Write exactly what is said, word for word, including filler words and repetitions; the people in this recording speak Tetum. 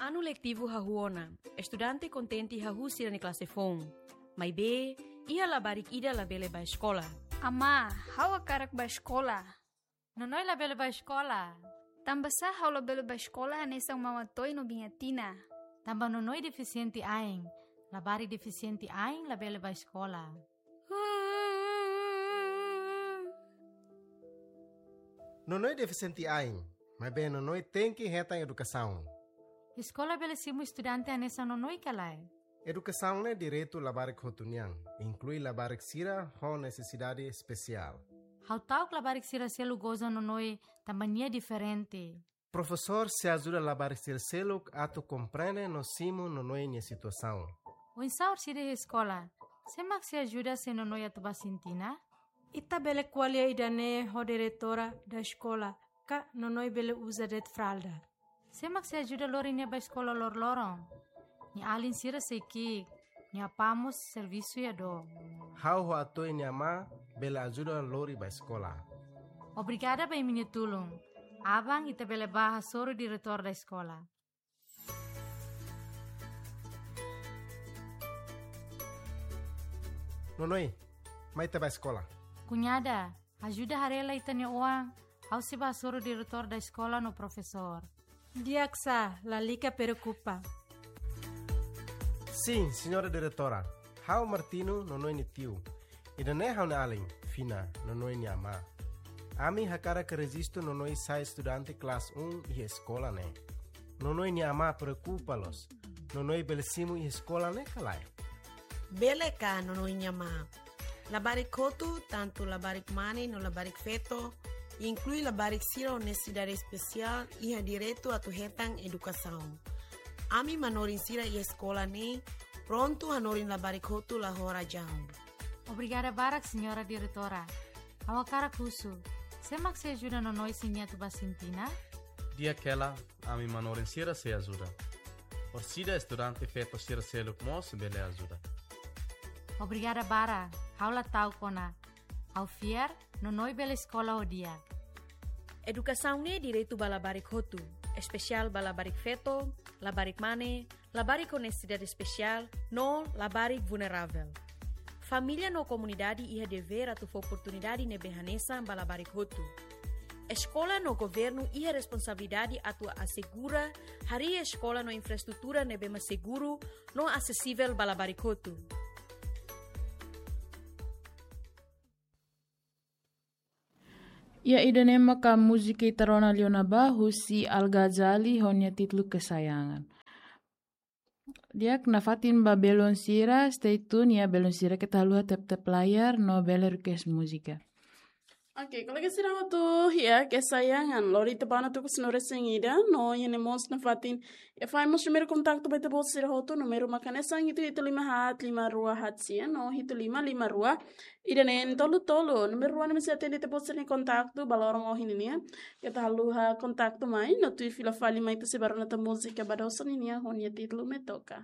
Anu letivu hahú ona, estudante kontente hahú sira-nia klase foun. Maibé, iha labarik ida labele bá eskola. Amá, ha'u hakarak bá eskola. Nonoi labele bá eskola. Tanbasá ha'u labele bá eskola hanesan Mama Toy no Biña Tina? Tanba Nonoi defisiente ain. Labarik defisiente ain labele bá eskola. Nonoi defisiente ain, maibé Nonoi tenke hetan edukasaun. Eskola bele simu estudante hanesan Nonoi ka lae? Edukasaun ne'e direitu labarik hotu nian, inklui labarik sira ho nesesidade espesiál. Ha'u ta'uk labarik sira seluk goza Nonoi tanba nia diferente. Profesór sei ajuda labarik sira seluk atu komprende no simu Nonoi nia situasaun. Oinsá orsida iha eskola? Sé mak sei ajuda se Nonoi atu bá Sintina? Ita bele ko'alia ida-ne'e ho diretora da eskola, ka Nonoi bele uza de'it fralda. Sé mak sei ajuda lori nia bá eskola loroloron? Nia alin sira sei ki'ik, nia apá mós servisu iha dook. Ha'u ho Atoy nia amá bele ajuda lori bá eskola. Obrigada ba imi-nia tulun. Aban ita bele bá hasoru diretór da eskola. Nonoi, mai ita bá eskola. Kuñada, ajuda haree lai ita-nia oan, ha'u sei bá hasoru diretór da eskola no profesór. Di'ak sá, lalika preokupa. Sin, señora diretora. Ha'u Martino, Nonoi nia tiu. Ida-ne'e ha'u-nia alin, Fina, Nonoi nia amá. Ami hakarak rejistu Nonoi sai estudante klase um iha eskola ne'e. Nonoi nia amá preokupa loos. Nonoi bele simu iha eskola ne'e ka lae? Bele ka, Nonoi nia amá? Labarik hotu, tantu labarik mane no labarik feto, inklui labarik sira ho nesesidade espesiál, iha direitu atu hetan edukasaun. Ami manorin sira iha eskola ne'e prontu hanorin labarik hotu la ho razaun. Obrigada barak, señora diretora. Ha'u hakarak husu, sé mak sei ajuda Nonoi se nia atu bá Sintina? Di'ak hela, ami manorin sira sei ajuda. Orsida estudante feto sira seluk mós bele ajuda. Obrigada barak, ha'u la ta'uk ona. Ha'u fiar, Nonoi bele eskola ho di'ak. Edukasaun ne'e direitu ba labarik hotu, espesiál ba labarik feto, labarik mane, labarik ho nesesidade espesiál, no labarik vulneravel. Família no komunidade iha devér atu fó oportunidade ne'ebé hanesan ba labarik hotu. Eskola no governu iha responsabilidade atu asegura harii eskola no infraestrutura ne'ebé mak seguru no asesivel ba labarik hotu. Ya, ida-ne'e maka múzika ita rona liu ona ba husi Al Ghazali ho nia títulu Kesayangan. Di'ak, nafatin ba belun sira, stay tune ya belun sira, keta haluha tap-tap layar no bele request múzika. Oke, kolega sira hotu, ya, Kesayangan lori ita ba ona tuku sanulu-resin-ida, no iha ne'e mós nafatin, ya, fai mós primeiru kontaktu ba ita-boot sira hotu, númeru mak hanesan hitu hitu lima haat lima rua haat sia, no hitu lima lima rua ida neen tolu tolu, númeru rua ne'ebé sei atende ita-boot sira-nia kontaktu ba loron ohin nian. Keta haluha kontaktu mai, no tuir fila fali mai ita sei bá rona tan múzika Badosa nian ho nia títulu Me Toca.